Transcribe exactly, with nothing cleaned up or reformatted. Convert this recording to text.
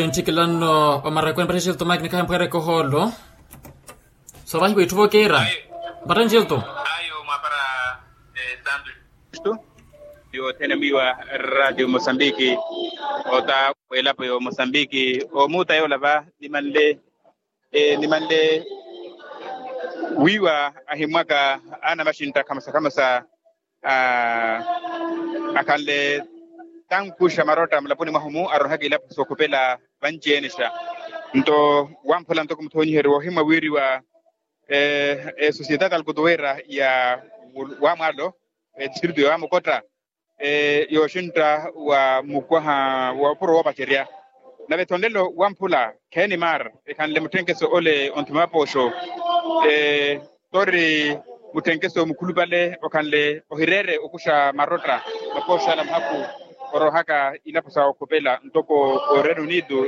Ntthikilano omarakweni mpattheni xilto mike nikhaye mphweereke ohoolo. Soovahiwa itthu vookeera. Mpattheni xilto. Ayo mwaapara. Santu yothene mwiiwa radio mosambiki, ota w'elapo yo mosambiki, omuuta yoola va nimanle, nimanle wiiwa ahimwaka anamaxintta khamosa khamosa akhanle tankuxa marotta mulaponi mwahu-mu arohaka ilapo sookhupela vanci-ene xa. Nto wamphula ntoko muthoonyiheriwa ohimwa wiiriwa esosiyetata alkutuweera ya wamwaalo, etistritu ya wamukotta yooxintta wa mukwaha wa opuro woopacerya. Nave ethonlelo wamphula khenimar ekhanle mutthenkeso ole onthuma apooxo, tori mutthenkeso mukhulupale okhanle ohireere okuxa marotta mapooxala muhakhu orohaka ilapo sa okhupela ntoko o reino unido.